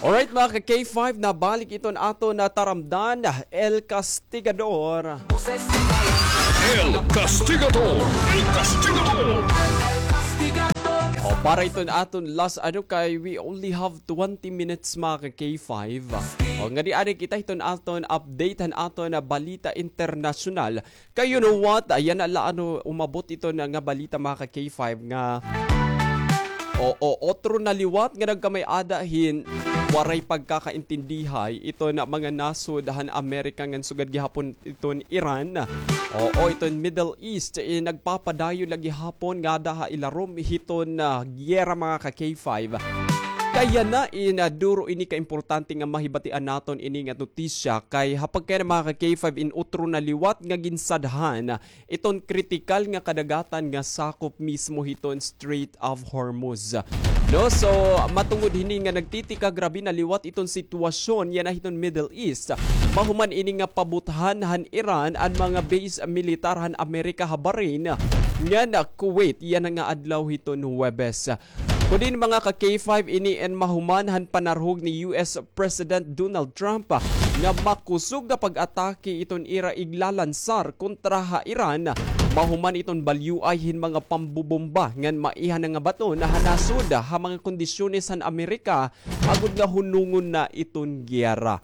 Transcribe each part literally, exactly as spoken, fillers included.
Alright, mga ka-K five, nabalik iton aton na taramdan, El Castigador. El Castigador! El Castigador! O, para iton aton last, ano, kay we only have twenty minutes, mga ka-K five. O, ngadi anay kita hiton aton update han aton na balita internasyonal. Kay you know what? Yana la, ano, umabot iton nga balita, mga ka-K five, nga, oo, otro na liwat nga nagkamay-ada hin waray pagkakaintindihay iton mga nasod han Amerika ngan sugad gihapon iton Iran. Oo, iton Middle East, eh, nagpapadayon la gihapon ngada ha ilarom hiton, ah, giyera, mga ka-K five. Kay yana in, ah, duro ini ka importante nga mahibatian naton ini nga notisya kay ha pagkayana, mga ka-K five, in utro na liwat nga ginsadhan iton kritikal nga kadagatan nga sakop mismo hiton Strait of Hormuz. No, so matungod hini nga nagtitikagrabe na liwat iton sitwasyon yana hiton Middle East, mahuman ini nga pabuthan han Iran an mga base militar han Amerika ha Bahrain ngan Kuwait yana nga adlaw hiton Huwebes. Kun diin, mga ka-K five, ini in mahuman han panarhog ni U S President Donald Trump, ah, nga makusog nga pag-atake iton ira iglalansar kontra ha Iran, mahuman iton balyuay hin mga pambobomba ngan maiha na nga baton ha nasod ha mga kondisyones han Amerika agod nga hunongon na iton giyera.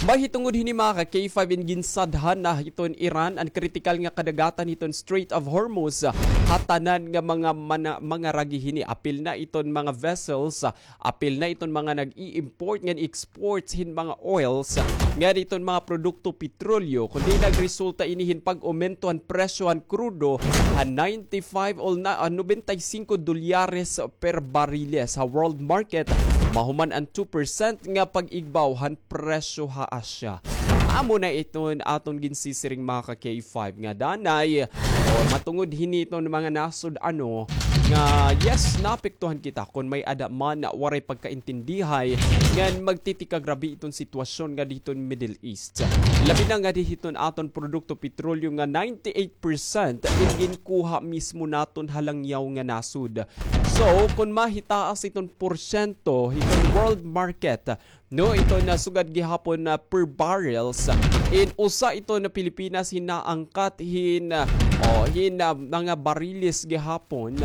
Mahitungod hini, mga ka-K five, in ginsadhan na hiton Iran an kritikal nga kadagatan hiton Strait of Hormuz ha tanan nga mga mana-, mangaragi hini. Apil na iton mga vessels, apil na iton mga nag-i-import ngan exports hin mga oils, ngan iton mga produkto petrolyo, kundi nagresulta ini hin pag-umento han presyo han krudo ha ninety-five o na, ah, nobenta y singko dolyares per bariles ha world market, mahuman an two percent nga pag-igbaw han presyo ha Asya. Amo na iton aton ginsisiring, mga ka-K five, nga danay, o, matungod hini iton mga nasod, ano, nga, yes, naapektuhan kita kun may-ada man waray pagkaintindihay ngan magtitikagrabe iton sitwasyon nga diton Middle East. Labi na nga di hiton aton produkto petrolyo nga ninety-eight percent in ginkuha mismo naton ha langyaw nga nasod. So, kun mahitaas iton porsyento hiton world market, no, iton sugad gihapon na per barrels, in usa iton Pilipinas hin naangkat hin, o, hin, ah, mga bariles gihapon.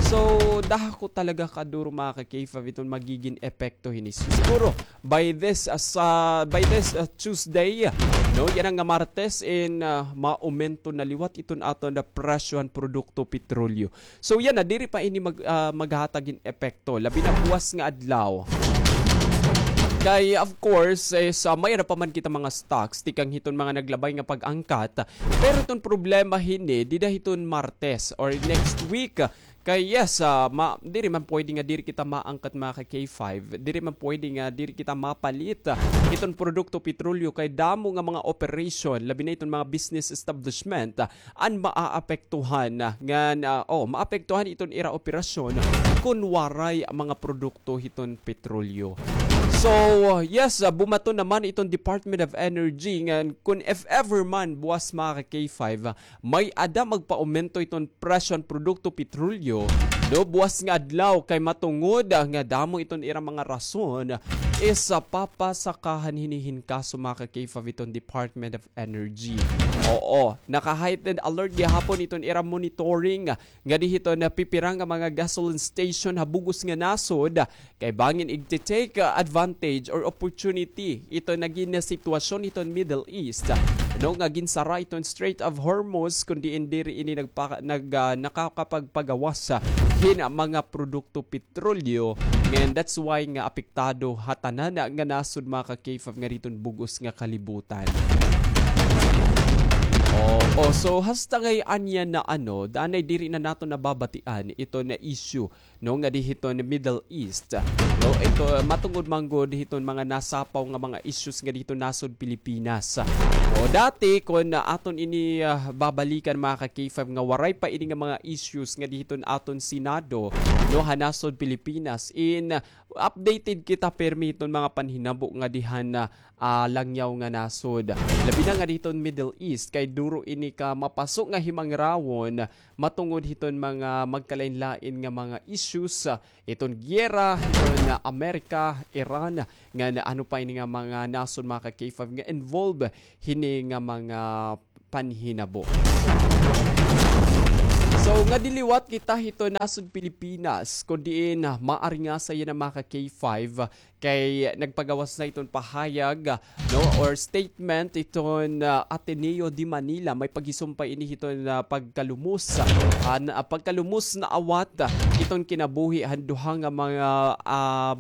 So, dako talaga kaduro, mga ka-K five, iton magigin epekto hini. Siguro, by this, ah, sa, by this, ah, Tuesday, no, yana nga Martes, in, ah, maumento na liwat iton aton na presyo han produkto petrolyo. So, yana, diri pa ini mag-, ah, maghatag hin epekto, labi na buwas nga adlaw. Kay, of course, eh, sa may-ada pa man kita mga stocks, tikang hiton mga naglabay nga pag-angkat. Pero iton problema hini, dida hiton Martes or next week, kay yes, ah, ma-, diri man pwede nga diri kita maangkat, mga ka-K five. Diri man pwede nga diri kita mapalit, ah, iton produkto petrolyo kay damo nga mga operation, labi na iton mga business establishment, ah, an maaapektuhan, ah, ngan, ah, o, maapektuhan iton ira operasyon kun waray mga produkto hiton petrolyo. So, yes, ah, bumaton naman iton Department of Energy ngan kun if ever man buwas, mga ka-K five, ah, may-ada magpaumento iton presyo han produkto petrolyo, no, buwas nga adlaw kay matungod, ah, nga damo iton ira mga rason, is, ah, papasakahan hini hin kaso, mga ka-K five, iton Department of Energy. Oo, naka-heightened alert gihapon iton ira monitoring nga di hiton pipira nga mga gasoline station ha bug-os nga nasod, kay bangin igte-take advantage or opportunity iton nagin sitwasyon hiton Middle East, no, nga ginsara iton Strait of Hormuz, kun diin diri ini nagpa-, nag-, ah, nakakapagpagawas hin mga produkto petrolyo, and that's why nga apektado ha tanan nga nasod, mga ka-K five, nga diton bug-os nga kalibutan. Oo, so hasta ngay-an yana, ano, danay diri na naton nababatian iton issue, no, nga di hiton Middle East. No, ito, matungod man gud hiton mga nasapaw nga mga issues nga diton nasod Pilipinas. O, dati, kun aton ini, ah, babalikan, mga ka-K five, nga waray pa ini nga mga issues nga diton aton Senado, no, ha nasod Pilipinas, in updated kita pirmi hiton mga panhinabo nga dihan na, ah, langyaw nga nasod. Labi na nga diton Middle East, kay duro ini ka mapaso nga himangrawon matungod hiton mga magkalain-lain nga mga issues, ah, iton giyera hiton, ah, Amerika, Iran, ngan ano pa ini nga mga nasod, mga ka K five, nga involved hini nga mga panhinabo. So, ngadi liwat kita hiton nasod Pilipinas, kun diin, ah, maaringasa yana, mga ka K five, kay nagpagawas na iton pahayag, ah, no, or statement iton, ah, Ateneo de Manila. May paghisumpay ini hiton, ah, pagkalumos, ah, na, ah, pagkalumos na awat, ah, iton kinabuhi han duha nga mga, ah,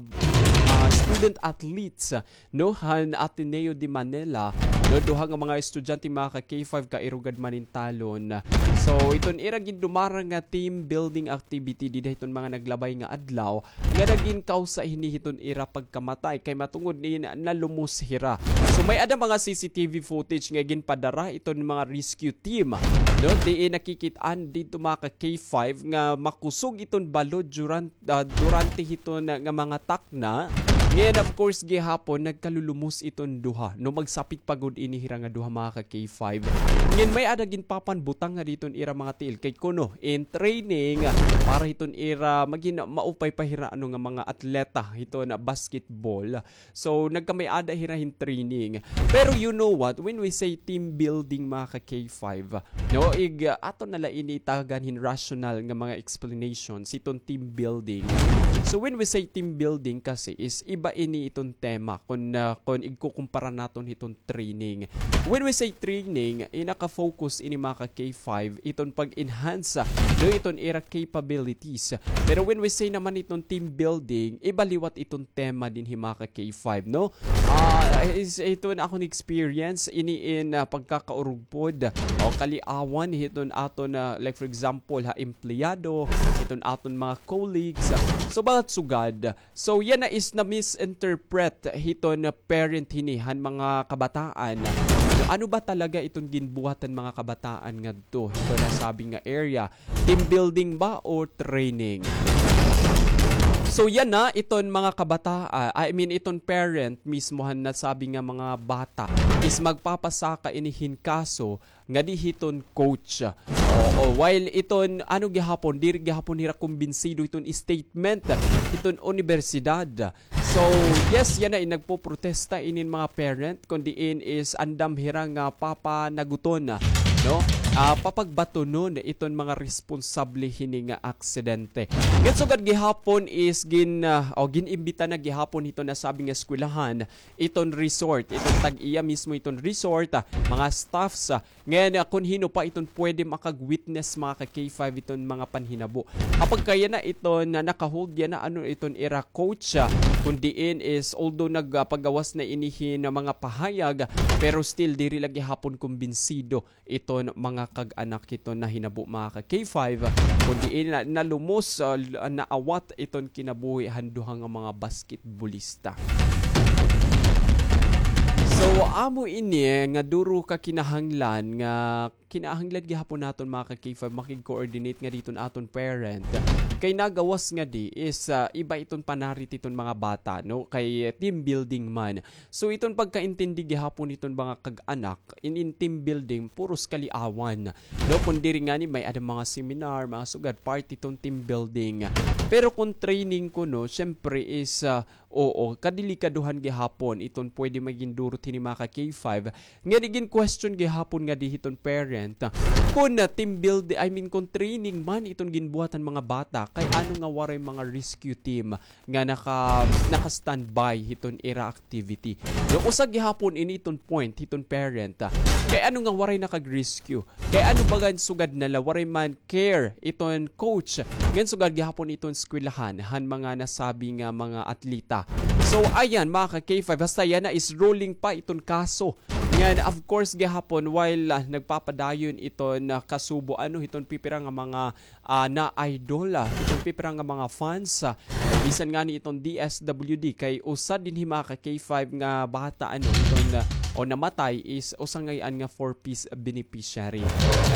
ah, student athletes, ah, no, han Ateneo de Manila, no, duha nga mga estudyante, mga ka K five, kairog han Manintalon. So, iton ira gindumara nga team building activity dida hiton mga naglabay nga adlaw, nga nagin kawsa hini hiton ira pagkamatay kay matungod ni na-, nalumos hira. So, may-ada mga C C T V footage nga ginpadara iton mga rescue team, no, diin nakikit-an didto, mga ka K five, nga makusog iton balod duran-, ah, durante hiton nga mga takna. Ngan, of course, gihapon, nagkalulumos iton duha. No, magsapit pa gud ini hira nga duha, mga ka K five. Ngan may-ada ginpapanbutang nga diton ira mga tiil. Kay kuno, in training, para hiton ira, magin maupay pa hira, ano, nga mga atleta hiton basketball. So, nagkamay-ada hira hin training. Pero you know what? When we say team building, mga ka K five, no, ig, ah, ato na la ini itagan hin rational nga mga explanations hiton team building. So, when we say team building kasi is iba ini iton tema kun, ah, kun igkukumpara naton hiton training. When we say training, inaka-focus ini, mga ka K five, iton pag-enhance, ah, do iton ira capabilities. Pero when we say naman iton team building, iba liwat iton tema dinhi, mga ka K five, no? Ah, is, ito na akon experience, ini in, ah, pagkakaurugpod o kaliawan hiton aton, ah, like, for example, ha, empleyado, hiton aton mga colleagues. So, bagat sugad. So, yana is na-misinterpret hiton parent hini han mga kabataan. Ano ba talaga iton ginbuhat han mga kabataan ngadto hiton nasabi nga area? Team building ba o training? So, yana iton mga kabataan, I mean, iton parent mismo han nasabi nga mga bata is magpapasaka ini hin kaso ngadi hiton coach. Oo, while iton, ano gihapon, diri gihapon hira kumbinsido hiton statement hiton unibersidad. So, yes, yana in nagpoprotesta inin mga parent, kun diin is andam hira nga papanaguton, no? Ah, papagbatunon iton mga responsable hini nga aksidente. Ngan sugad gihapon is gin-, ah, o gin-imbita na gihapon hiton nasabi nga eskwelahan iton resort, iton tag-iya mismo iton resort, ah, mga staffs, ah, ngan, ah, kun hin-o pa iton pwede makag-witness, mga ka K five, iton mga panhinabo. Apagka yana iton, ah, naka-hold yana, ano, iton ira coach, ah, kun diin is, although nagpagawas na ini hin mga pahayag, pero still diri la gihapon kumbinsido iton mga kag-anak hiton nahinabo, mga ka K five, kun diin na, nalumos, ah, l-, naawat iton kinabuhi han duha nga mga basketballista. So, amo ini nga duro ka kinahanglan nga kinahanglan gihapon naton, mga ka K five, makig-coordinate ngadi hiton aton parent. Kay nagawas ngadi is, ah, iba iton panarit hiton mga bata, no? Kay team building man. So, iton pagkaintindi gihapon hiton mga kag-anak, in, in team building, puros kaliawan. No, kun diri ngani may-ada mga seminar, mga sugad, part hiton team building. Pero kun training kuno, syempre is, ah, oo, kadelikadohan gihapon iton pwede magindurot hini, mga ka K five. Ngadi gin-question gihapon ngadi hiton parent, kun, ah, team build, I mean, kun training man iton ginbuhat han mga bata, kay ano nga waray mga rescue team nga naka-, naka-standby hiton ira activity. No, usa gihapon ini iton point hiton parent, ah. Kay ano nga waray nakag-rescue? Kay ano bagan sugad na la waray man care iton coach? Ngan sugad gihapon iton eskwelahan han mga nasabi nga mga atleta. So, ayan, mga ka K five, hasta yana is rolling pa iton kaso. Ngan, of course, gihapon, while, ah, nagpapadayon iton, ah, kasubo, ano, hiton pipira nga mga ah, na idol, ah, iton pipira nga mga fans, ah, bisan ngani iton D S W D kay usa dinhi, mga ka K five, nga bata, ano, iton, ah, o namatay is usa ngay-an nga four Ps beneficiary.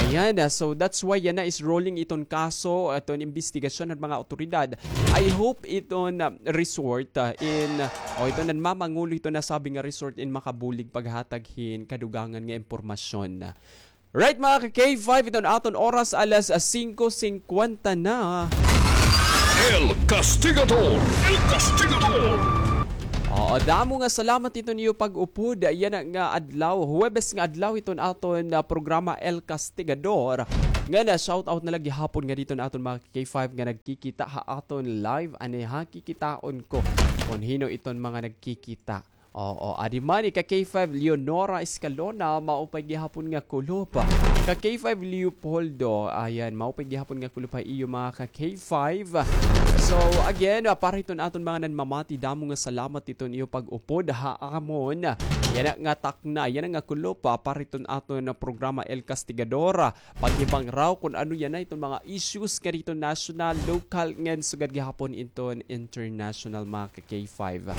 Ayan, ah, so that's why yana is rolling iton kaso, iton imbestigasyon han mga awtoridad. I hope iton, ah, resort, ah, in, ah, o iton nanmamangulo hiton nasabi nga resort in makabulig paghatag hin kadugangan nga impormasyon. Right, mga ka-K five, iton aton oras, alas singko singkwenta na. El Castigador! El Castigador! Oo, damo nga salamat iton iyo pag-upod. Yana nga adlaw, Huwebes nga adlaw, iton aton, ah, programa El Castigador. Nga na-shoutout na la gihapon ngadi iton aton mga K five nga nagkikita ha aton live. Ani ha, kikitaon ko kon hin-o iton mga nagkikita. Oo, adi man hi ka K five Leonora Escalona, maupay gihapon nga kulop. Ka K five Leopoldo, ayan, maupay gihapon nga kulop ha iyo mga ka K five. So, again, ah, para hiton aton mga nanmamati, damo nga salamat hiton iyo pag-upod ha amon. Yana nga takna, yana nga kulop, ah, para hiton aton programa El Castigador. Paghibangraw kon ano yana iton mga issues nga didto national, local, ngan sugad gihapon iton international, mga ka K five.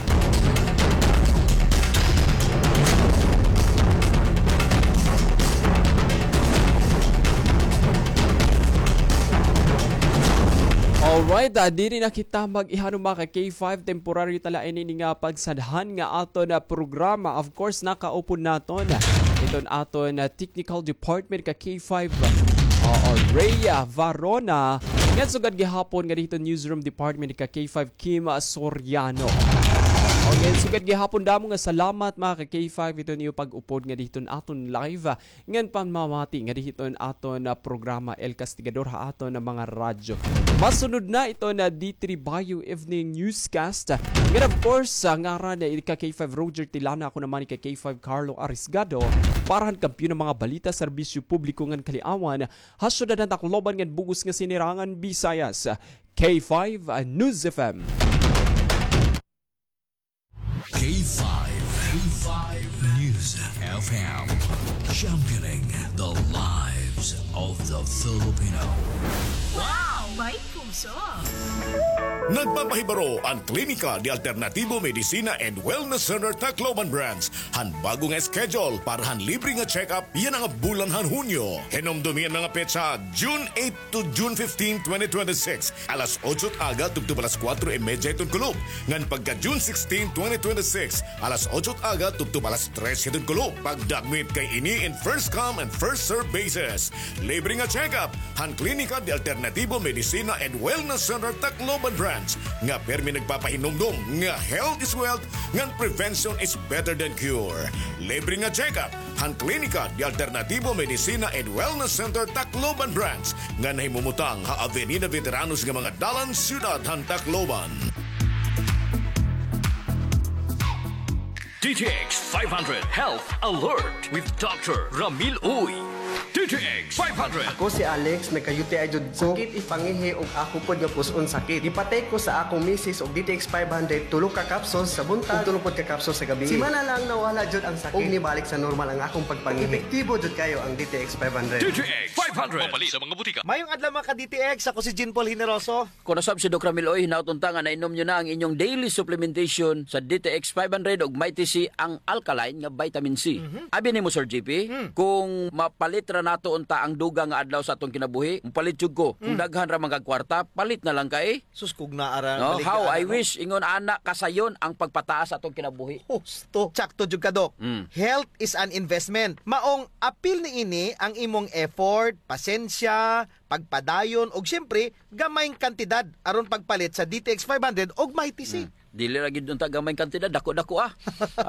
Alright, ah, diri na kita mag-ihanom, mga ka K five, temporaryo ta la ini nga pagsadhan nga aton, ah, programa. Of course, nakaupod naton iton aton, ah, technical department ka K five, oo, Rhea Varona. Ngan sugad gihapon nga didto newsroom department ka K five Kim Soriano. Okay, sugad gihapon damo nga salamat, mga ka K five, iton iyo pag-upod nga didto aton live, ah, ngan panmamati nga didto aton, ah, programa El Castigador ha aton, ah, mga radyo. Masunod na iton, ah, D three Bio Evening Newscast. Ngan of course, ah, ngaran ni ka K five Roger Tilana, ako naman ni ka K five Carlo Arisgado, para han kampiyon nga mga balita, serbisyo publiko ngan kaliawan ha syudad han Tacloban ngan bug-os nga Sinirangan Visayas. K five, ah, News F M. K five, K five News F M, championing the lives of the Filipino. Wow! May puso! Nagpapahibaro an Klinika de Alternativo Medicina and Wellness Center Tacloban Branch han bag-o nga schedule para han libre nga check-up yana nga bulan han Hunyo. Hinumdomi an mga petsa, June eight to June fifteen, twenty twenty-six, alas otso it aga tubtob alas kuwatro y medya hiton kulop. Ngan pagka June sixteen, twenty twenty-six, alas otso it aga tubtob alas tres hiton kulop. Pagdakmit kay ini in first come and first serve basis. Libre nga check-up han Klinika de Alternativo Medicina and Wellness Center Tacloban Branch, nga pirmi nagpapahinumdom nga health is wealth ngan prevention is better than cure. Libre nga check-up han Klinika de Alternativo Medicina and Wellness Center Tacloban Branch, nga nahimumutang ha Avenida Veteranos nga mga dalan, siyudad han Tacloban. D T X five hundred Health Alert with Doctor Ramil Uy. D T X five hundred. Ako si Alex, nagka-U T I jud ko. Sakit it pangihi ug ako pod nga pus-on sakit. Gipatake ko sa akong misis og D T X five hundred, tulo ka capsules sa buntag ug tulo pod ka capsules sa gabii. Simana lang nawala jud ang sakit ug nibalik sa normal ang akong pagpangihi. Epektibo jud kayo ang D T X five hundred. D T X five hundred. Mapalit sa mga butika. Mayong adlaw, mga ka-D T X, ako si Jean Paul Generoso. Kon nasab si Doc Ramil Uy, hinaot unta nga nainom niyo na ang inyong daily supplementation sa D T X five hundred ug Mighty C, ang alkaline nga vitamin C. Mhm. Abi nimo, Sir G P, hmm, kung mapalit ra nato unta ang dugang nga adlaw sa atong kinabuhi, mopalit jud ko. Kung, hmm, daghan ra man kag kwarta, palit na lang kay. Sus, kung naa ra, no? Maligya, how I, ano, wish, ingon ana, kasayon ang pagpataas sa atong kinabuhi. Husto. Sakto jud ka, Doc. Mm. Health is an investment. Maong apil niini ang imong effort, pasensya, pagpadayon, ug siyempre, gamayng kantidad aron pagpalit sa D T X five hundred ug Mighty C. Hmm. Dili ra gyud unta gamayng kantidad, dako-dako, ah.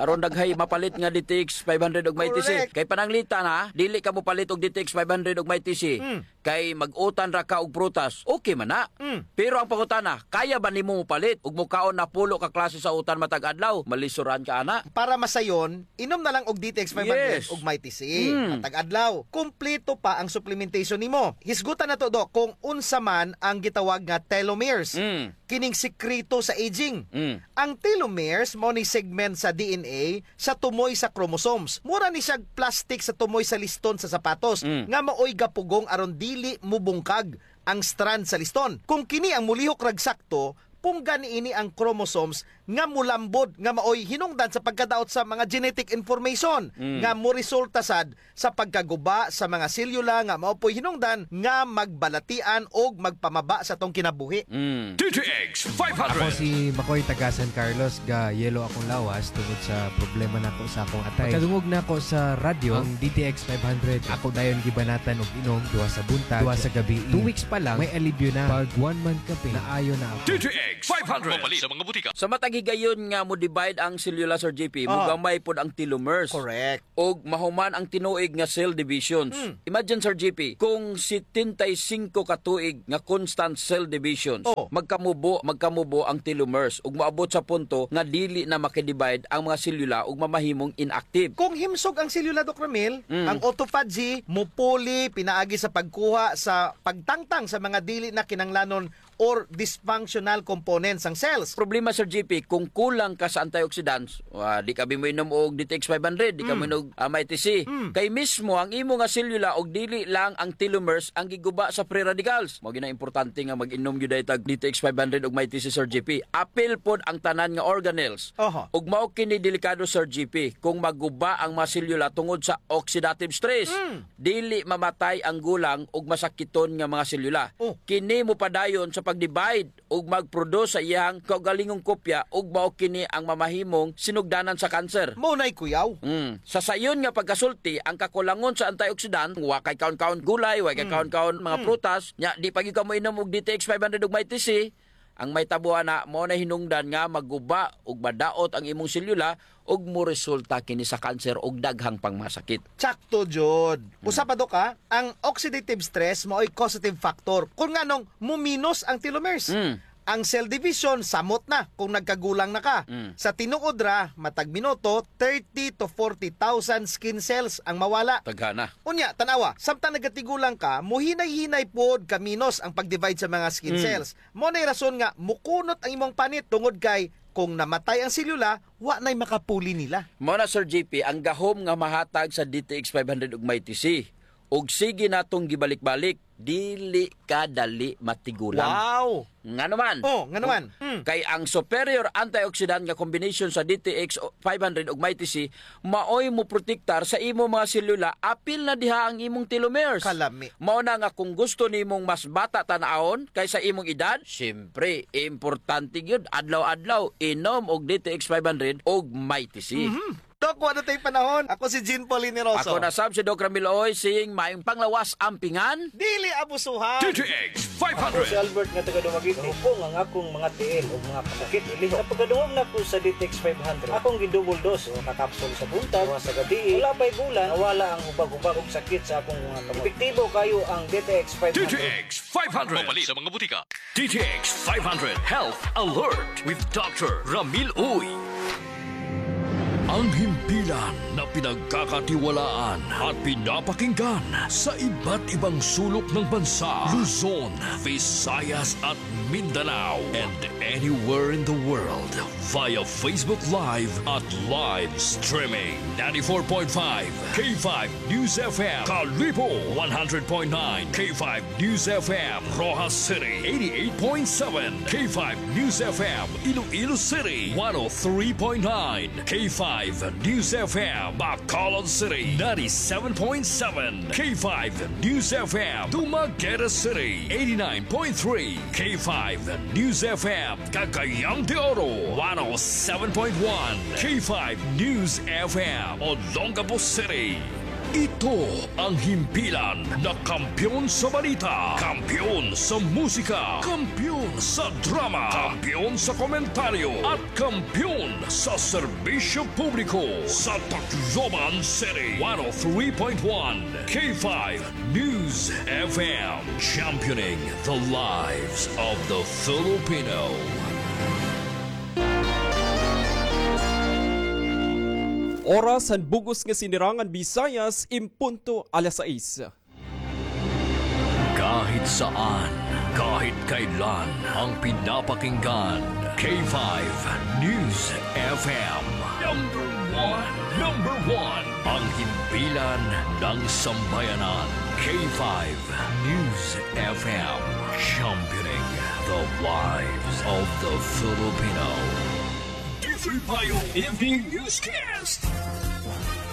Aron daghay mapalit nga D T X five hundred ug Mighty C. Correct. Kay pananglitan, ha, dili ka mopalit og D T X five hundred ug Mighty C. Hmm. Kay mag-utan ra ka og prutas, okay man na. Hmm. Pero ang pangutana, kaya ba nimo mopalit ug mokaon na pulo ka klase sa utan matag adlaw? Malisuran ka ana. Para masayon, inom na lang og D T X five hundred, yes, ug Mighty C. Mm. Matag adlaw, kumpleto pa ang supplementation nimo. Hisgutan nato, Doc, kung unsa man ang gitawag nga telomeres. Mm. Kining sikreto sa aging. Mm. Ang telomeres mao ni segment sa D N A sa tumoy sa chromosomes. Mura ni siya plastic sa tumoy sa liston sa sapatos, mm, nga maoy gapugong aron dili mubungkag ang strand sa liston. Kung kini ang mulihok rag sakto, punggan niini ang chromosomes nga molambod nga maoy hinungdan sa pagkadaot sa mga genetic information nga moresulta sad sa pagkaguba sa mga selyula nga mao po'y hinungdan nga magbalatian og magpamaba sa atong kinabuhi. Mm. D T X five hundred. Ako si Makoy, taga San Carlos, ga-yellow akong lawas tungod sa problema nako sa akong atay. Pagkadungog nako sa radyo, ang D T X five hundred, ako dayon gibanatan og inom, duha sa buntag, duha sa gabi. Two weeks pa lang, may alibyo na. Pag one month ka pa, naayo na ako. D T X five hundred. Mapalit sa mga butika. Sa matag higayon nga mo-divide ang selyula, Sir J P, mogamay pod ang telomeres. Correct. Og mahuman ang tinuig nga cell divisions. Mm. Imagine, Sir J P, kung setenta y cinco ka tuig nga constant cell divisions, magkamubo, magkamubo ang telomeres ug maabot sa punto nga dili na makidivide ang mga selyula ug mamahimong inactive. Kung himsog ang selyula, Doc Ramil, ang autophagy mupuli pinaagi sa pagkuha sa pagtangtang sa mga dili na kinahanglanon or dysfunctional components sang cells. Problema, Sir J P, kung kulang ka sa antioxidants, ah, di ka abi moinom og D T X five hundred, di ka moinom og, ah, Mighty C. Kay mismo ang imo nga selyula og dili lang ang telomeres ang giguba sa free radicals. Mao gyud na importante nga mag-inom gyud ta og D T X five hundred ug Mighty C, Sir J P. Apil pod ang tanan nga organelles. Oho. Ug mao kini delikado, Sir J P, kung maguba ang mga selyula tungod sa oxidative stress. Dili mamatay ang gulang ug masakiton nga mga selyula. Oh. Kini mopadayon sa pag-divide ug mag-produce sa iyang kaugalingong kopya ug mao kini ang mamahimong sinugdanan sa cancer. Mao nay kuyaw. Mm. Sa sayon nga pagkasulti, ang kakulangon sa antioxidant, wa kay kaon-kaon gulay, wa kay kaon-kaon mga prutas, nya di pa gyud ka moinom og D T X five hundred ug Mighty C, ang mahitabo ana, mao na hinungdan nga maguba ug madaot ang imong selyula ug moresulta kini sa kanser ug daghang pang masakit. Sakto jud. Usa pa, Dok, ha, ang oxidative stress mao'y causative factor kung nganong muminos ang telomeres. Ang cell division, samot na kung nagkagulang na ka. Sa tinuod ra, matag minuto, thirty to forty thousand skin cells ang mawala. Daghana. Unya, tan-awa, samtang nagatigulang ka, muhinay-hinay pod kaminos ang pag-divide sa mga skin cells. Mao nay rason nga mukunot ang imong panit tungod kay kung namatay ang selyula, wa nay makapuli nila. Mao na, Sir J P, ang gahom nga mahatag sa D T X five hundred ug Mighty C. Ug sige natong gibalik-balik, dili ka dali matigulang. Wow! Ngano man? Oh, ngano man? Mm. Kay ang superior antioxidant nga combination sa D T X five hundred ug Mighty C maoy moprotektar sa imo mga selyula, apil na diha ang imong telomeres. Kalami. Mao na nga kung gusto nimong mas bata tan-awon kaysa imong edad, siyempre, importante gyud adlaw-adlaw inom og D T X five hundred og Mighty C. Mhm. Dok, wa na tay panahon. Ako si Jean Paul Generoso. Ako na sab si Doc Ramil Oy, saying maayong panglawas, ampingan. Dili abusuhan. D T X five hundred. Ako si Albert nga taga Dumaguete. Hupong ang akong mga tiil ug mga kasakit ilihok. Sa pagkadungog nako sa D T X five hundred, akong gi-double dose, usa ka kapsul sa buntag, usa sa gabii. Wala pa'y bulan, nawala ang hubag-hubag ug sakit sa akong mga kamot. Epektibo kaayo ang D T X five hundred. D T X five hundred. Mapalit sa mga butika. D T X five hundred Health Alert with Doctor Ramil Uy. Ang himpilan na pinagkakatiwalaan at pinapakinggan sa iba't ibang sulok ng bansa, Luzon, Visayas at Mindanao, and anywhere in the world via Facebook Live at live streaming. Ninety-four point five K five News F M, Kalibo, one hundred point nine K five News F M, Roxas City, eighty-eight point seven K five News F M, Iloilo City, one oh three point nine K five News F M, Bacolod City, ninety-seven point seven K five News F M, Dumaguete City, eighty-nine point three K five News F M, Cagayan de Oro, one oh seven point one K five News F M, Olongapo City. Ito ang himpilan na kampiyon sa balita, kampiyon sa musika, kampiyon sa drama, kampiyon sa komentaryo, at kampiyon sa serbisyo publiko sa Tacloban City. One oh three point one K five News F M, championing the lives of the Filipino. Oras han bug-os nga Sinirangan Visayas, en punto alas sais. Kahit saan, kahit kailan, ang pinapakinggan, K five News F M. Number one, number one, ang himpilan ng sambayanan, K five News F M, championing the lives of the Filipino. Tribayo Evening Newscast.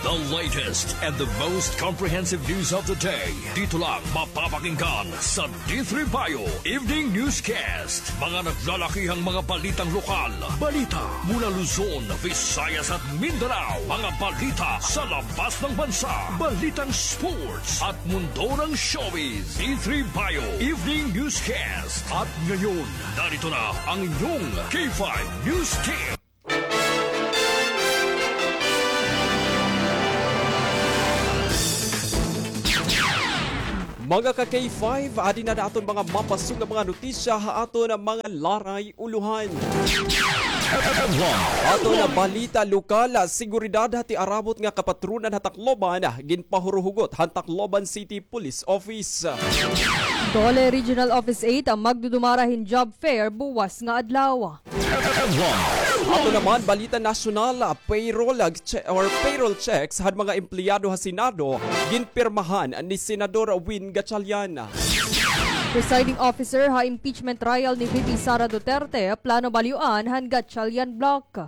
The latest and the most comprehensive news of the day. Dito lang mapapakinggan sa D three Bio Evening Newscast. Mga naglalakihang mga balitang lokal. Balita mula Luzon, Visayas at Mindanao. Mga balita sa labas ng bansa. Balitang sports at mundo ng showbiz. D three Bio Evening Newscast. At ngayon, narito na ang inyong K five News Team. Mga ka-K five, adi na an aton mga mapasong nga mga notisya ha aton mga laray ulohan. Aton balita lokal, seguridad ha tiarabot nga kapatronan ha Tacloban, ginpahuruhugot han Tacloban City Police Office. DOLE Regional Office eight magdudumara hin job fair buwas nga adlaw. Ato naman, balita nasyonal, ah, payroll, ah, che-, or payroll checks han mga empleyado ha Senado, ginpirmahan ni Senador Win Gatchalian. Presiding officer ha impeachment trial ni V P Sara Duterte, plano balyoan han Gatchalian bloc.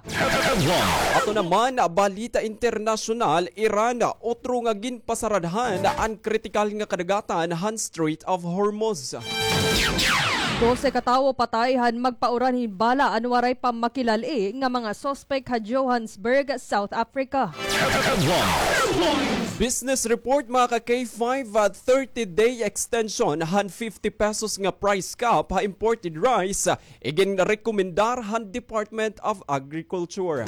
Ato naman, ah, balita internasyonal, Iran, ah, otro nga ginpasaradhan an kritikal nga kadagatan han Strait of Hormuz. Dose ka tawo patay han magpauran hin bala an waray pa makilal-i nga mga suspek ha Johannesburg, South Africa. Business report, mga ka-K five, ah, thirty-day extension han fifty pesos nga price cap ha imported rice, ah, iginrekomendar han Department of Agriculture.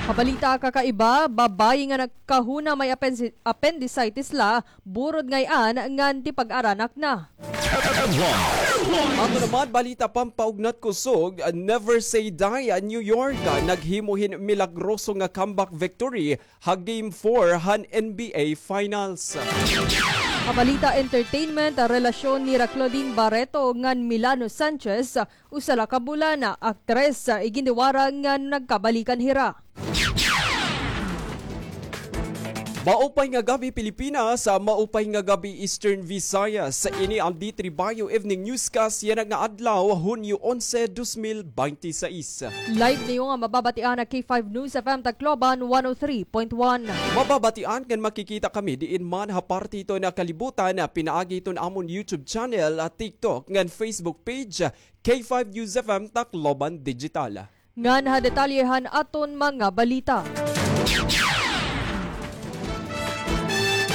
Ha balita kakaiba, babayi nga nagkahuna may apensi-, appendicitis la, burod ngay-an ngan tipag-aranak na. Ato naman, balita pampaugnat kusog, Never Say Die, New York, naghimo hin milagroso nga comeback victory ha Game four han N B A Finals. Ha balita entertainment, relasyon nira Claudine Barreto ngan Milano Sanchez, usa la ka bulan, aktres, igindiwara nga nagkabalikan hira. Maupay nga gab-i, Pilipinas. Maupay nga gab-i, Eastern Visayas. Ini an D three Bio Evening Newscast yana nga adlaw, Hunyo onse, dos mil bente sais. Live niyo nga mababatian ha K five News F M Tacloban one oh three point one. Mababatian ngan makikita kami diin man ha parte hiton kalibutan, pinaagi hiton amon YouTube channel, TikTok ngan Facebook page, K five News F M Tacloban Digital. Ngan ha detalye han aton mga balita.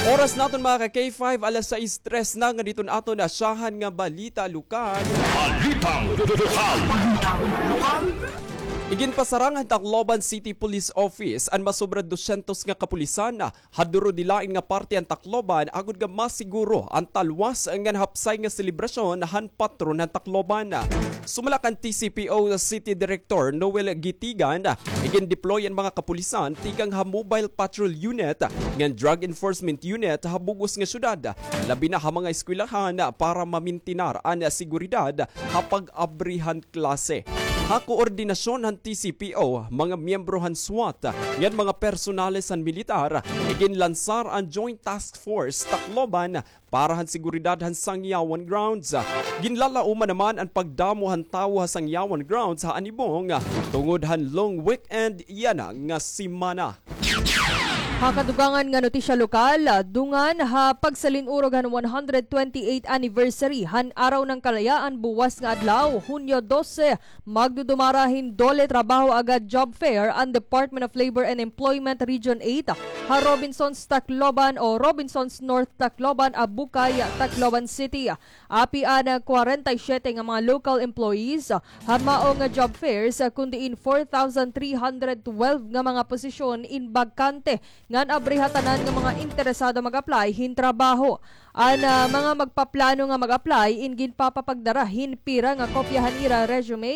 Oras naton, mga ka-K five, alas sais tres na, ngan didto an aton nasyahan nga balita lokal. Balitang lokal. Iginpasarang han Tacloban City Police Office an masobra dosyentos nga kapulisan ha duro dilain nga parte han Tacloban agod nga masiguro an talwas ngan hapsay nga selebrasyon han patron han Tacloban. Sumala kan T C P O City Director Noel Gitigan, igin-deploy an mga kapulisan tikang ha Mobile Patrol Unit ngan Drug Enforcement Unit ha bug-os nga syudad, labi na ha mga eskwelahan, para mamintinar an seguridad ha pag-abri han klase. Ha koordinasyon han T C P O, mga miyembro han SWAT, ngan mga personales han militar, iginlansar an Joint Task Force Tacloban para han seguridad han Sangyawan Grounds. Ginlalauman naman an pagdamo han tawo ha Sangyawan Grounds ha anibong tungod han long weekend yana nga semana. Ha kadugangan nga notisya lokal, dungan ha pagsalin-urog han one hundred twenty-eighth anniversary han Araw ng Kalayaan buwas nga adlaw, Hunyo dose, magdudumara hin DOLE Trabaho Agad Job Fair an Department of Labor and Employment Region eight ha Robinsons Tacloban o Robinsons North Tacloban, Abucay, Tacloban City. Api an kwarenta y siyete nga mga local employees ha mao nga job fairs, kun diin four thousand three hundred twelve nga mga posisyon in bakante ngan abri ha tanan nga mga interesado mag-apply hin trabaho. An, ah, mga magpaplano nga mag-apply in ginpapapagdara hin pira nga kopya han ira resume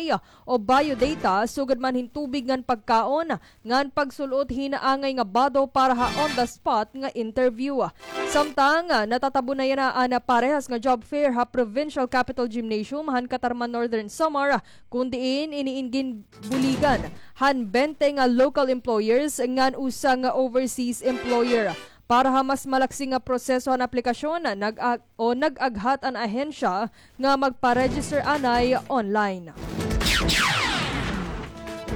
o biodata, sugad man hin tubig ngan pagkaon, ngan pagsul-ot hin angay nga bado para ha on the spot nga interview. Samtang, ah, natatabo na yana an parehas nga job fair ha Provincial Capitol Gymnasium han Catarman, Northern Samar, kun diin ini in ginbuligan han bente nga local employers ngan usa nga overseas employer. Para ha mas malaksi nga proseso han aplikasyon, nag-a-, o nag-aghat an ahensya nga magpa-register anay online.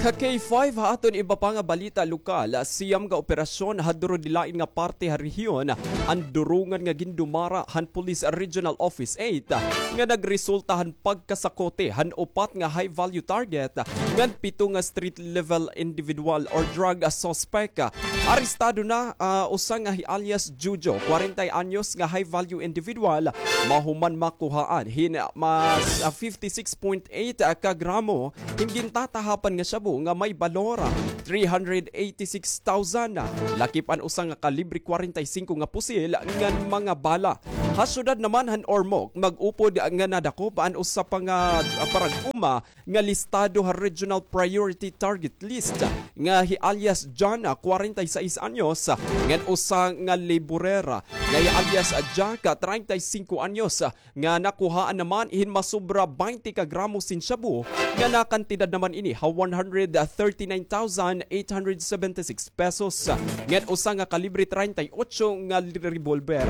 Ka K five, ha aton iba pa nga balita lokal, siyam nga operasyon ha duro dilain nga parte ha rehiyon an durungan nga gindumara han Police Regional Office eight nga nagresulta han pagkasakote han upat nga high-value target ngan pito nga street-level individual or drug suspect. Arestado na, ah, usa nga hi alias Jujo, kwarenta anyos nga high-value individual, mahuman makuhaan hin mas, ah, fifty-six point eight ka gramo hin gintatahapan nga shabu nga may balor three hundred eighty-six thousand, lakip an usa nga kalibre kwarenta y singko nga pusil ngan mga bala. Ha syudad naman han Ormoc, mag-upod nga nadakop an usa pa nga, ah, parag-uma nga listado ha Regional Priority Target List nga hi alias John, ah, kwarenta y seis anyos, ngan usa nga laborer nga hi alias Jack, ah, treinta y singko anyos, nga nakuhaan naman hin masobra baynte ka gramo sin shabu, nga nakantidad naman ini ha one hundred thirty-nine thousand eight hundred seventy-six pesos, ngan usa nga kalibre treinta y ocho nga revolver.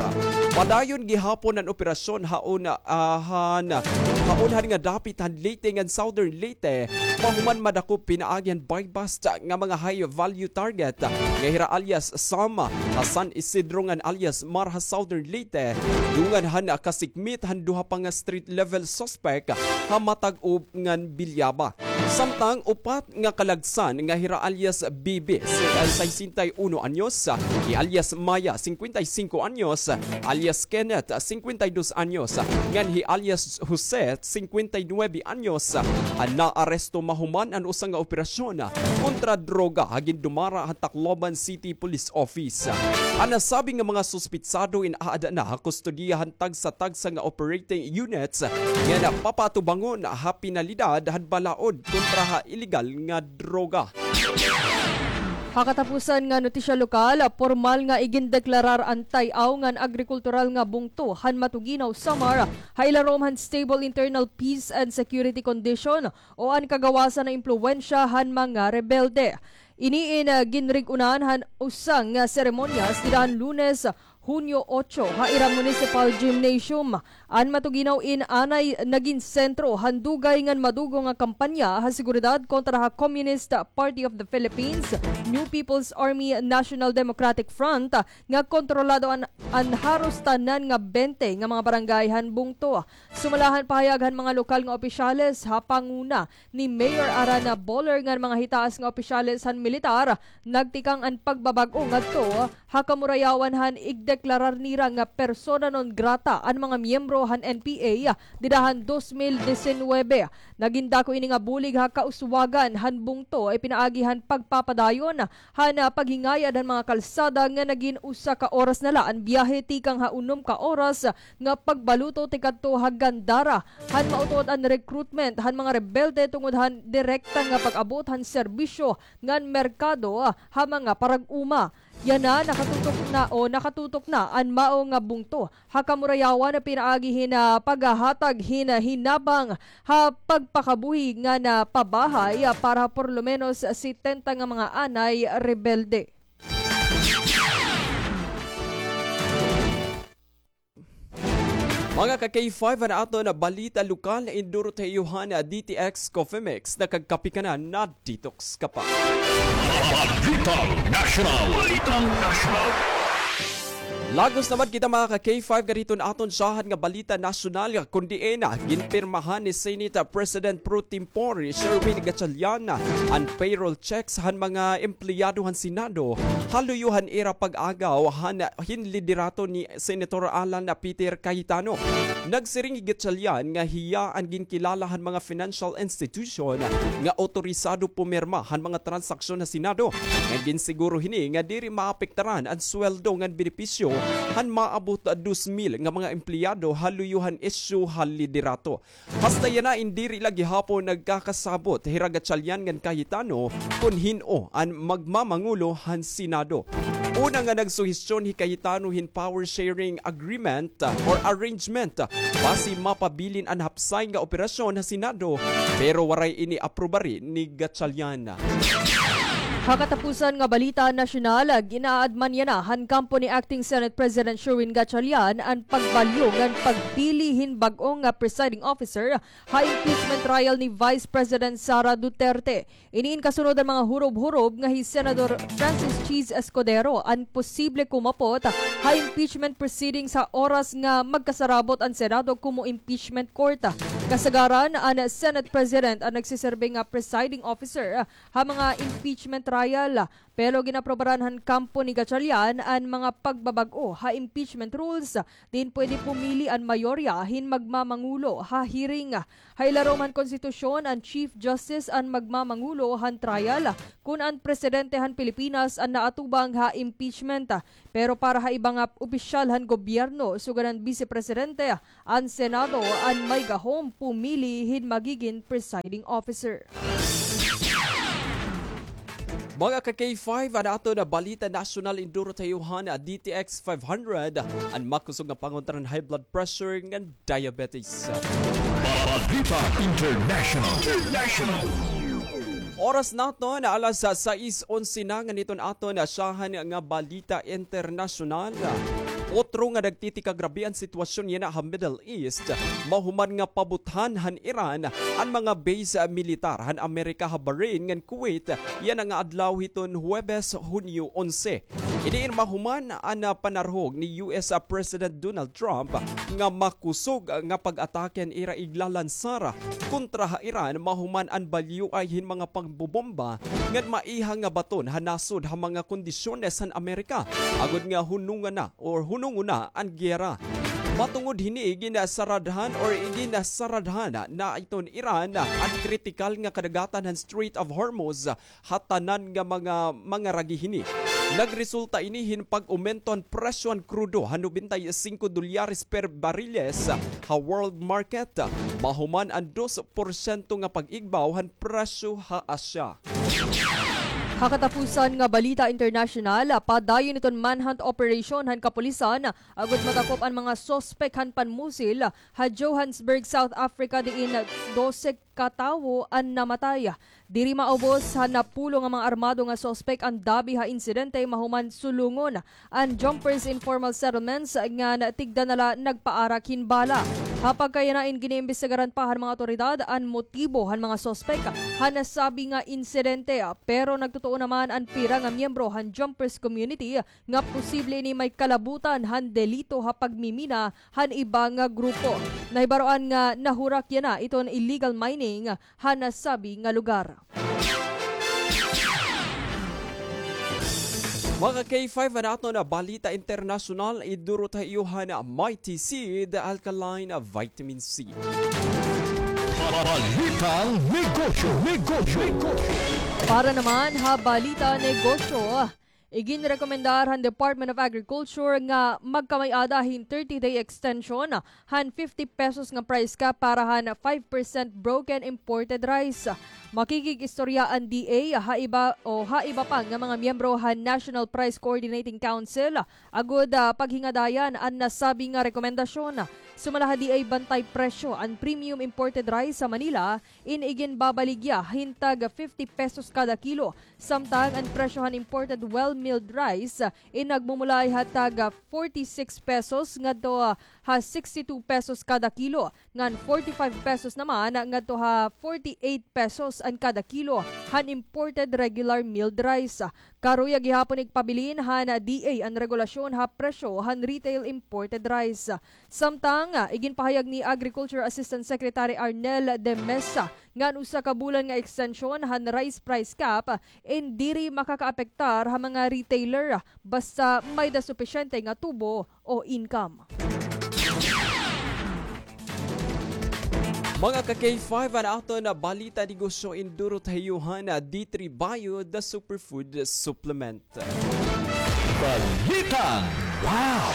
Padayon gihapon an operasyon haon, ah, han, haon han nga dapit han Leyte ngan Southern Leyte, mahuman madakop pinaagi han buy-bust nga mga high value target nga hira alias Sam ha San Isidro ngan alias Mar ha Southern Leyte, dungan han kasikmit han duha pa nga street level suspect ha Matag-Ub ngan Bilyaba. Samtang upat nga kalagsan nga hira alias Bibi, si-, ah, sesenta y uno anyos, hi alias Maya, singkwenta y singko anyos, alias Kenneth, singkwenta y dos anyos, ngan hi alias Jose, singkwenta y nuebe anyos, an naaresto mahuman an usa nga operasyon kontra droga ha gindumara han Tacloban City Police Office. An nasabi nga mga suspitsado in-aada na ha kustodiya han tagsa-tagsa nga operating units nga napapatubangon ha penalidad han balaod kontra ha iligal nga droga. Ha katapusan nga notisya lokal, pormal nga igindeklarar an Tay-aw ngan agrikultural nga bungto han Matuginaw, Samar, ha ilarom han stable internal peace and security condition o an kagawasan nga impluwensya han mga rebelde. Ini in, ah, ginrig-unan han usa nga seremonyas dida han Lunes, Hunyo otso, ha ira Municipal Gymnasium. An Matuginaw in anay nagin sentro han dugay ngan madugo nga kampanya ha seguridad kontra ha Communist Party of the Philippines, New People's Army, National Democratic Front, nga kontrolado an, an haros tanan nga bente nga mga barangay han bungto. Sumala han pahayag han mga lokal nga opisyales ha panguna ni Mayor Arana Boller ngan mga hitaas nga opisyales han militar, nagtikang an pagbabag-o ngadto ha kamurayawan han igdeklarar nira nga persona non grata an mga miyembro han N P A dida han dos mil disinwebe. Nagin dako ini nga bulig ha kauswagan han bungto, ipinaagi han pagpapadayon han, ah, paghingayad han mga kalsada nga nagin usa ka oras na la an biyahe tikang ha unom ka oras nga pagbaluto tikadto ha Gandara. Han mautot an recruitment han mga rebelde tungod han direkta nga pag-abot han serbisyo ngan merkado, ah, ha mga parag-uma. Yana, nakatutok na o nakatutok na an mao nga bungto ha kamurayawan pinaagi hin, ah, paghahatag hin, ah, hinabang ha pagpakabuhi ngan pabahay, ah, para por lo menos setenta nga mga anay rebelde. Mga ka K five, an aton balita lokal, indurot ha iyo han D T X Coffee Mix. Nakagkape ka na, na-detox ka pa. Balitang Nasyonal. Balitang Nasyonal. Lagos naman kita, mga ka K five, gad hiton aton syahan nga balita nasyonal, kun diin ginpirmahan ni Senate President pro tempore Sherwin Gatchalian an payroll checks han mga empleyado han Senado ha luyo han ira pag-agaw han, hin liderato ni Senator Alan Peter Cayetano. Nagsiring hi Gatchalian nga hiya an ginkilala han mga financial institution nga otorisado pumirma han mga transaksyon ha Senado. Ngan ginsiguro hini nga diri maapektaran an sweldo ngan benepisyo han maabot dos mil nga mga empleyado ha luyo han isyu ha liderato. Hasta yana in diri la gihapon nagkakasabot hira Gatchalian ngan Cayetano kun hin-o an magmamangulo han Senado. Una nga nagsuhestyon hi Cayetano hin power sharing agreement, ah, or arrangement, ah, basi mapabilin an hapsay nga operasyon ha Senado, pero waray ini aprobari ni Gatchalian. Ha katapusan nga balita nasyonal, ginaadman yana han kampo ni Acting Senate President Sherwin Gatchalian an pagbalyo ngan pagpili hin bag-o nga presiding officer ha impeachment trial ni Vice President Sara Duterte. Ini in kasunod han mga hurob-hurob nga hi Senador Francis Chiz Escudero an posible kumapot ha impeachment proceedings ha oras nga magkasarabot an Senado komo impeachment court. Kasagaran, an Senate President an nagsiserbi nga presiding officer ha mga impeachment trial. Pero ginaprobaran han kampo ni Gatchalian an mga pagbabag-o ha impeachment rules, diin pwede pumili an mayorya hin magmamangulo ha hearing. Ha ilarom han konstitusyon, an Chief Justice an magmamangulo han trial kon an presidente han Pilipinas an naatubang ha impeachment. Pero para ha iba nga opisyal han gobyerno, sugad han Bise Presidente, an Senado an may gahom pumili hin magigin presiding officer. Mga ka K five, an aton balita nasyonal, induro ta iyo han D T X five hundred, an makusog nga pangontra han high blood pressure ngan diabetes. Balita International. International. Oras naton, alas sais onse na, ngan iton aton syahan nga balita internasyonal. Otro nga nagtitikagrabe an sitwasyon yana ha Middle East, mahuman nga pabuthan han Iran an mga base militar han Amerika ha Bahrain ngan Kuwait yana nga adlaw hiton Huwebes, Hunyo onse. Ini in mahuman an, ah, panarhog ni U S President Donald Trump nga makusog nga pag-atake an ira iglalansar kontra ha Iran mahuman an balyoay hin mga pagbobomba ngan maiha nga baton ha nasod ha mga kondisyones han Amerika agod nga hunungan na or hunungon na an giyera. Matungod hini, iginasaradhan or iginasaradhan na iton Iran an kritikal nga kadagatan han Strait of Hormuz ha tanan nga mga, mga ragi hini. Nagresulta ini hin pag-umento han presyo han krudo ha nobenta y singko dolyares per bariles ha world market, mahuman an dos porsyento nga pag-igbaw han presyo ha Asya. Ha katapusan nga balita internasyonal, padayon iton manhunt operation han kapulisan agod madakop an mga suspek han panmusil ha Johannesburg, South Africa, diin dose ka tawo an namatay. Diri maubos han napulo nga mga armado nga suspek an dabi ha insidente mahuman sulungon an Jumpers Informal Settlements ngan tigda na la nagpaarak hin bala. Ha pagkayana, in giniimbestigaran pa han mga awtoridad an motibo han mga suspek han nasabi nga insidente, pero nagtutuo naman an pira nga miyembro han Jumpers community nga posible ini may kalabutan han delito ha pagmimina han iba nga grupo. Nahibaroan nga nahurak yana iton illegal mining ha nasabi nga lugar. Mga ka K five, an aton balita internasyonal, iduro ta iyo han Mighty Seed Alkaline Vitamin C. Balitang negosyo, negosyo, negosyo. Para naman ha balita negosyo, iginrekomendar han Department of Agriculture nga magkamay-ada hin thirty-day extension han fifty pesos nga price cap para han five percent broken imported rice. Makikig-istorya an D A ha iba o ha iba pa nga mga miyembro han National Price Coordinating Council agod, ah, paghingadayan an nasabi nga rekomendasyon. Sumala ha D A bantay presyo an premium imported rice ha Manila, in iginbabaligya hin tag fifty pesos kada kilo. Samtang an presyo han imported well milled rice in nagmumulay ha tag forty-six pesos ngadto ha sixty-two pesos kada kilo, ngan forty-five pesos naman ngadto ha forty-eight pesos an kada kilo han imported regular milled rice. Karuyag gihapon igpabilin han D A an regulasyon ha presyo han retail imported rice. Samtang, ah, iginpahayag ni Agriculture Assistant Secretary Arnel de Mesa nga an usa ka bulan nga extension han rice price cap in diri makakaapektar ha mga retailer basta may-da supisyente nga tubo o income. Mga ka K five, an aton balita negosyo induro ta iyo han D three Bio, the superfood supplement. Balitang Wow!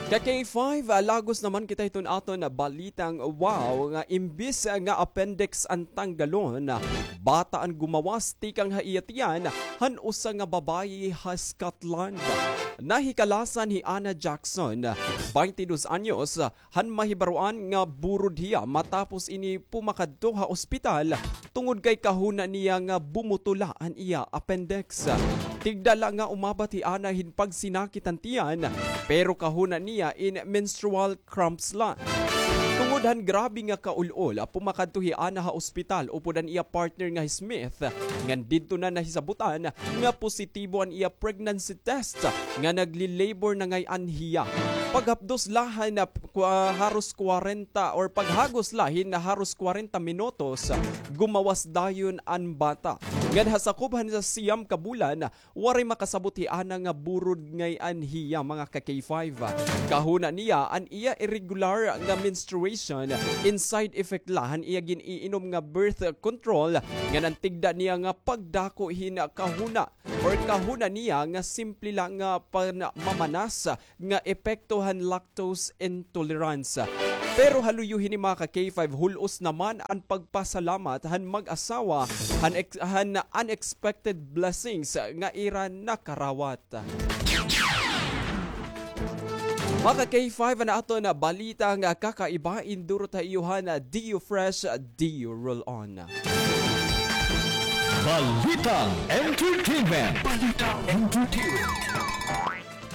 Ka K five, ah, lagos naman kita hiton aton balitang wow nga imbis nga appendix an tanggalon, bata an gumawas tikang ha iya tiyan han usa nga babayi ha Scotland. Nahikalasan hi Anna Jackson, baynte dos anyos, han mahibaroan nga burod hiya matapos ini pumakadto ha ospital tungod kay kahuna niya nga bumutula an iya appendix. Tigda la nga umabat hi Anna hin pagsinakit han tiyan, pero kahuna niya in menstrual cramps la. Tungod han grabe nga kaul-ol, pumakadto hi Anna ha ospital upod an iya partner nga hi Smith, ngan didto na nahisabutan nga positibo an iya pregnancy test nga nagli-labor na ngay-an hiya. Paghapdos la han, ah, kwa-, haros kwarenta or paghagos la hin haros kwarenta minutos, gumawas dayon an bata. Ngan ha sakob han siyam ka bulan, waray makasabot hi Anna nga burod ngay-an hiya, mga ka K five. Kahuna niya an iya irregular nga menstruation, in side effect la han iya gin-iinom nga birth control, ngan an tigda niya nga pagdako hin kahuna or kahuna niya nga simple la nga panmamanas nga epekto han lactose intolerance. Pero ha luyo hini, mga ka K five, hul-os naman an pagpasalamat han mag-asawa han ex-, han unexpected blessings nga ira nakarawat. Mga ka K five, an aton balita nga kakaiba, indurot ha iyo han D U Fresh, D U Roll On. Balitang Entertainment. Balitang Entertainment.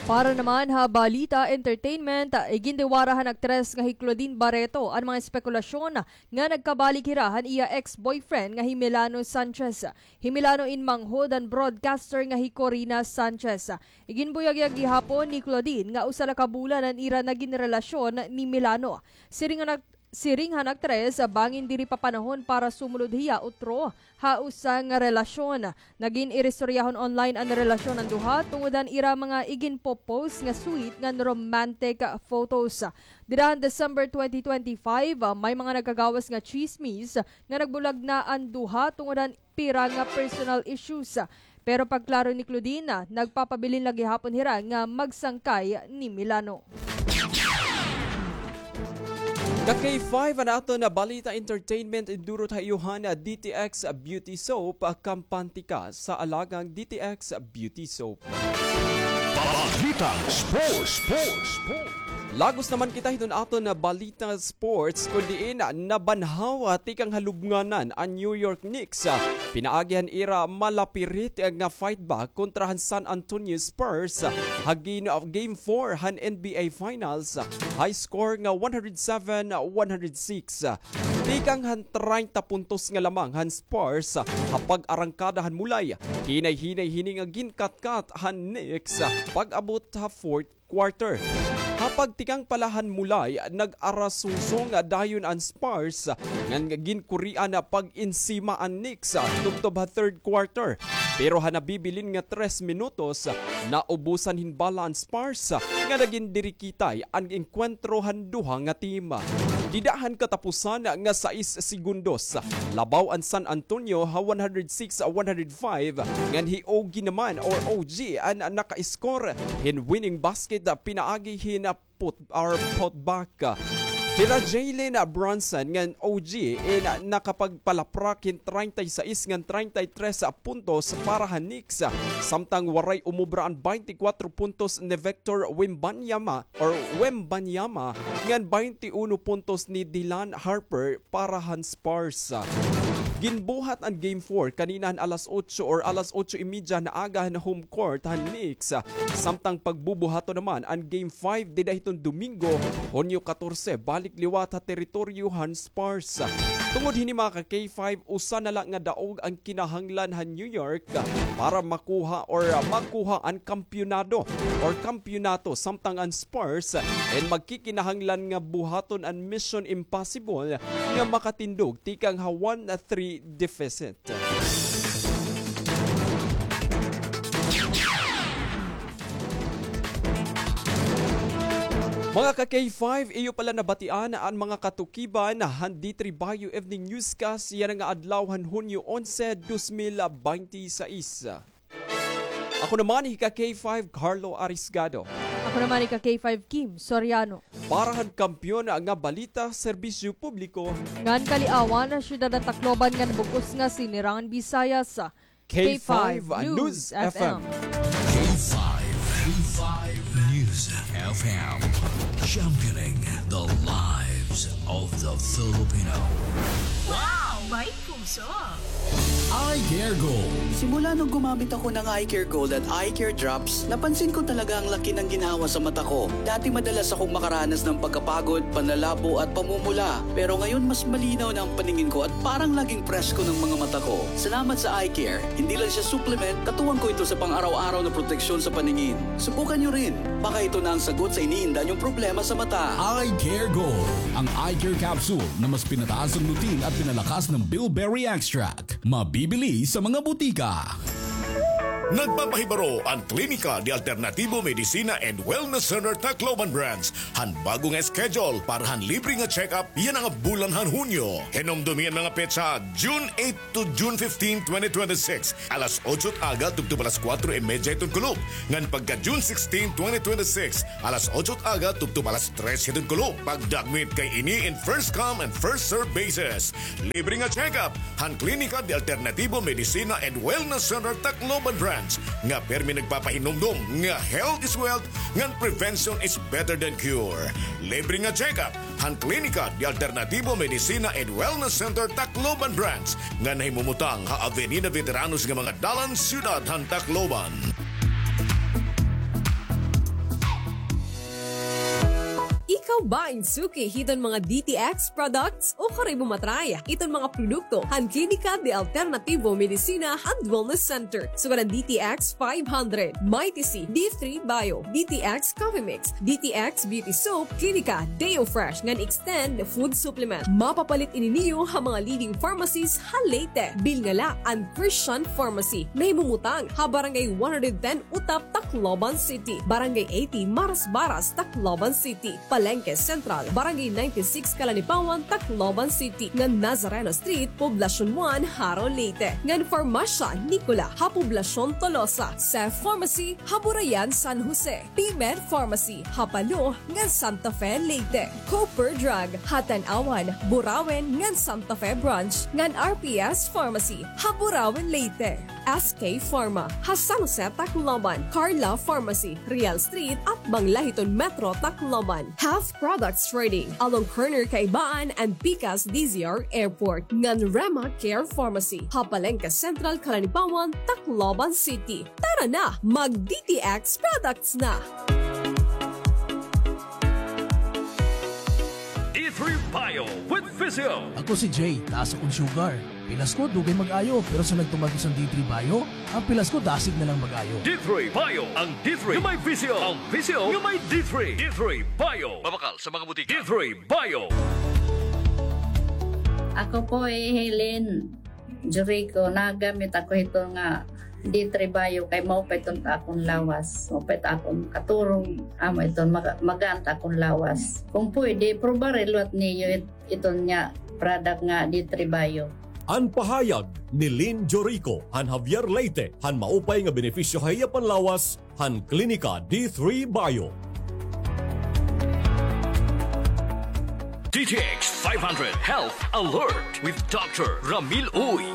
Para naman ha balita entertainment, igindiwara han aktres nga hi Claudine Barreto an mga espekulasyon nga nagkabalik hira han iya ex-boyfriend nga hi Milano Sanchez. Hi Milano in manghod han broadcaster nga hi Corina Sanchez. Iginbuyagyag gihapon ni Claudine nga usa la ka bulan an ira nagin relasyon ni Milano. Siring han ak-, siring han aktres, bangin diri pa panahon para sumulod hiya utro ha usa nga relasyon. Nagin iristoryahon online an relasyon han duha tungod han ira mga iginpo-post nga sweet ngan romantic photos. Dida han December twenty twenty-five, may mga nagkagawas nga tsismis nga nagbulag na an duha tungod han pira nga personal issues. Pero pagklaro ni Claudine, nagpapabilin la gihapon hira nga magsangkay ni Milano. Ka K five, an aton balita entertainment, indurot ha iyo han D T X Beauty Soap, kampante ka sa alagang D T X Beauty Soap. Balitang Sports, Sports, Sports. Lagos naman kita hiton aton balita sports, kun diin nabanhaw tikang ha lubnganan an New York Knicks, pinaagi han ira malapirit nga fight back kontra han San Antonio Spurs ha gin-, Game four han N B A Finals, high score nga one hundred seven one hundred six. Tikang han treinta puntos nga lamang han Spurs ha pag-arangkada han mulay, hinay-hinay hini nga ginkatkat han Knicks pag-abot ha fourth quarter. Ha pagtikang pa la han mulay, nag-arasungsong dayon an Spurs, ngan ginkurian pag-insima an Knicks tubtob ha third quarter. Pero ha nabibilin nga tres minutos, naubusan hin bala an Spurs, nga nagin dirikitay an engkwentro han duha nga team. Dida han katapusan nga sais segundos, labaw an San Antonio ha one hundred six one hundred five, ngan hi O G naman or O G an naka-score hin winning basket pinaagi hin put-, or putback. Hira Jalen Brunson ngan O G in nakapagpalaprak hin treinta y seis ngan treinta y tres puntos para han Knicks, samtang waray umubra an baynte kwatro puntos ni Victor Wembanyama or Wembanyama ngan baynte uno puntos ni Dylan Harper para han Spurs. Ginbuhat an Game four kanina han alas otso or alas otso y media han aga han home court han Knicks, samtang pagbubuhaton naman an Game five dida hiton Domingo, Hunyo katorse, balik liwat ha teritoryo han Spurs. Tungod hini, mga ka K five, usa na la nga daog an kinahanglan han New York para makuha or makuha an kampyonado or kampyonato, samtang an Spurs in magkikinahanglan nga buhaton an Mission Impossible nga makatindog tikang ha one three deficit. Mga ka K five, iyo pa la nabatian an mga katukiban han D three Bayo Evening Newscast yana nga adlaw han Hunyo onse, dos mil baynte sais. Ako naman hi ka K five Carlo Arisgado. Ako naman hi ka K five Kim Soriano. Para han kampiyon nga balita, serbisyo publiko, ngan kaliawan han syudad han Tacloban ngan bug-os nga sinirangan Bisaya sa K five News F M. K five, K five News F M. Championing the lives of the Filipino. Wow! May puso! Eye Care Gold. Simula nung gumamit ako ng Eye Care Gold at Eye Care Drops, napansin ko talaga ang laki ng ginhawa sa mata ko. Dati madalas akong makaranas ng pagkapagod, panlalabo at pamumula. Pero ngayon mas malinaw na ang paningin ko at parang laging presko ng mga mata ko. Salamat sa Eye Care. Hindi lang siya supplement, katuwang ko ito sa pang-araw-araw na proteksyon sa paningin. Subukan niyo rin. Baka ito na ang sagot sa iniinda niyong problema sa mata. Eye Care Gold, ang eye care capsule na mas pinataas ang lutein at pinalakas ng bilberry extract. Mabibili sa mga butika. Nagpapahibaro an Klinika de Alternativo Medicina and Wellness Center Tacloban Branch han bago nga schedule para han libre nga check-up yana nga bulan han Hunyo. Hinumdomi an mga petsa, June eight to June fifteen, twenty twenty-six, alas otso it aga tubtob alas kuwatro y medya hiton kulop, ngan pagka June sixteen, twenty twenty-six, alas otso it aga tubtob alas tres hiton kulop. Pagdakmit kay ini in first come and first serve basis. Libre nga check-up han Klinika de Alternativo Medicina and Wellness Center Tacloban Branch nga pirmi nagpapahinumdom nga health is wealth ngan prevention is better than cure. Libre nga check-up han Klinika de Alternativo Medicina and Wellness Center Tacloban Branch nga nahimumutang ha Avenida Veteranos nga mga dalan, siyudad han Tacloban. Ikaw ba in suki hiton mga D T X products? Ukon imo ma-try iton mga produkto han Klinika de Alternativo Medicina and Wellness Center. Sugad an D T X five hundred, Mighty C, D three Bio, D T X Coffee Mix, D T X Beauty Soap, Klinika Deo Fresh ngan Extend Food Supplement. Mapapalit ini niyo ha mga leading pharmacies ha Leyte. Bilngala an Christian Pharmacy, nahimumutang ha Barangay one hundred ten Utap, Tacloban City, Barangay eighty Marasbaras, Tacloban City, Palengke Central, Barangay ninety-six Calanipawan, Tacloban City, ngan Nazareno Street, Poblacion one, Jaro, Leyte, ngan Farmasya Nicola ha Poblacion Tolosa, Cef Pharmacy ha Burayan, San Jose, P-Med Pharmacy ha Palo ngan Santa Fe, Leyte, Cooper Drug ha Tanauan, Burauen ngan Santa Fe Branch, ngan R P S Pharmacy ha Burauen, Leyte. S K Pharma ha San Jose, Tacloban, Carla Pharmacy, Real Street, atbang la hiton Metro Tacloban. Health Products Trading, along corner Kaibaan and pikas D Z R Airport, ngan Rema Care Pharmacy ha Palengke Central, Calanipawan, Tacloban City. Tara na, mag D T X products na! D three Bio with Physio. Ako si Jay, taas akon sugar. Pilas ko, dugay mag-ayo, pero sa nagtuman ko san D three Bio, an pilas ko dasig na lang mag-ayo. D three Bio, ang D three nga may Physio, ang Physio nga may D three. D three Bio. Mabakal sa mga butika. D three Bio. Ako po hi Helen Jurico, nagamit ako hito nga D three Bio kay maupay iton ta akon lawas, maupay ta akon katurog, amo iton maga-, magaan ta akon lawas. Kung pwede, probari liwat niyo it-, iton nga product nga D three Bio. An pahayag ni Lynn Jorico han Javier, Leyte, han maupay nga benepisyo ha iya panlawas han Klinika D three Bio. D T X five hundred Health Alert with Doctor Ramil Uy.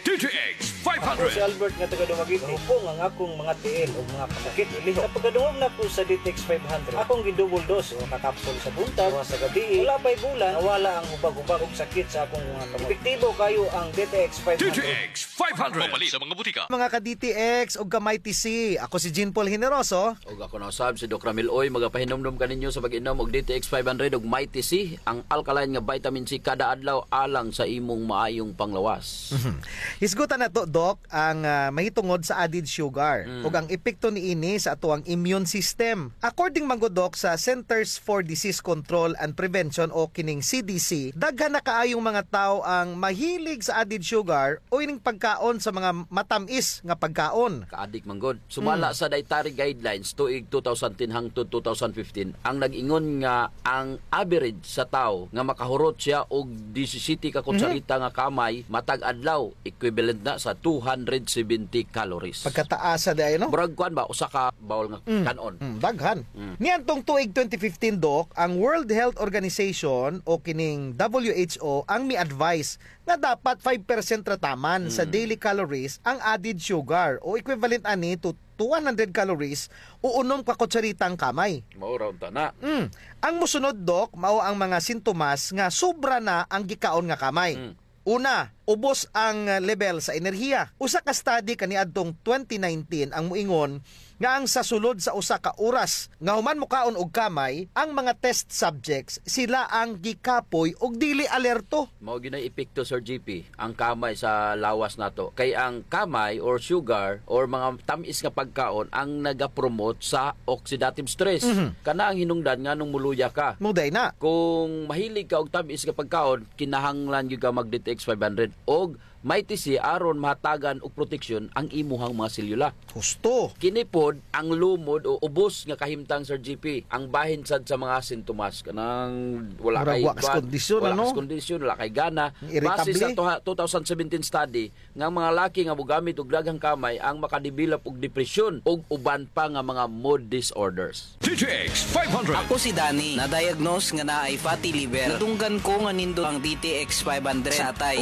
D T X five hundred. Ako si Albert nga taga Dumaguete. Mahupong ang akong mga tiil ug mga kasakit. Sa pagkadungog nako sa D T X five hundred, akong gi-double dose, usa ka kapsul sa buntag, usa sa gabii. Wala pa'y bulan, nawala ang hubag-hubag ug sakit sa akong mga kamot. Epektibo kaayo ang D T X five hundred. D T X five hundred. Mapalit sa mga butika. Mga ka-D T X ug ka-Mighty C, ako si Jean Paul Generoso. Ug ako na usab si Doc Ramil Uy, magapahinumdom kaninyo sa pag-inom og D T X five hundred ug Mighty C, ang alkaline nga vitamin C kada adlaw alang sa imong maayong panglawas. Mhm. Hisgutan nato, Doc, ang, ah, mahitungod sa added sugar ug ang epekto niini sa atoang immune system. According man gud, Doc, sa Centers for Disease Control and Prevention o kining C D C, daghan na kaayong mga tawo ang mahilig sa added sugar o ining pagkaon sa mga matam-is nga pagkaon. Kaadik man gud. Sumala sa dietary guidelines tuig two thousand ten hangtod two thousand fifteen, ang nag-ingon nga ang average sa tawo nga makahurot siya og disisiyete ka kutsarita nga kamay matag adlaw, equivalent na sa two hundred seventy calories. Pagkataasa di ay, no? Murag kuan ba, usa ka bowl nga Mm. kan-on. Mm, daghan. Mm. Niadtong tuig twenty fifteen, Doc, ang World Health Organization o kining W H O ang mi-advise nga dapat five percent ra taman sa Mm. daily calories ang added sugar o equivalent ani to two hundred calories o unom ka kutsaritang kamay. Mao ra unta na. Mm. Ang mosunod, Doc, mao ang mga sintomas nga sobra na ang gikaon nga kamay. Mm. Una, ubos ang level sa enerhiya. Usa ka study kaniadtong twenty nineteen ang moingon nga ang sa sulod sa usa ka oras nga human mokaon og kamay, ang mga test subjects, sila ang gikapoy ug dili alerto. Mao gyud nay epekto, Sir G P, ang kamay sa lawas nato. Kay ang kamay or sugar or mga tam-is nga pagkaon ang nagapromote sa oxidative stress. Mhm. Kana ang hinungdan nganong moluya ka. Mao diay na. Kung mahilig ka og tam-is nga pagkaon, kinahanglan gyud ka mag D T X five hundred og Mighty C aron mahatagan og proteksyon ang imuhang mga selyula. Husto. Kini pod ang lumod o ubos nga kahimtang, Sir G P, ang bahin sad sa mga sintomas kanang wala Murag kay wa kas kuan, kondisyon, wala ano? Kas kondisyon, wala kay gana. Irritable. Base sa tuha-, two thousand seventeen study, nga ang mga laki nga mogamit og daghang kamay ang makadevelop og depresyon ug uban pa nga mga mood disorders. D T X five hundred. Ako si Danny, na-diagnose nga naay fatty liver. Nadunggan ko nga nindot ang D T X five hundred sa atay.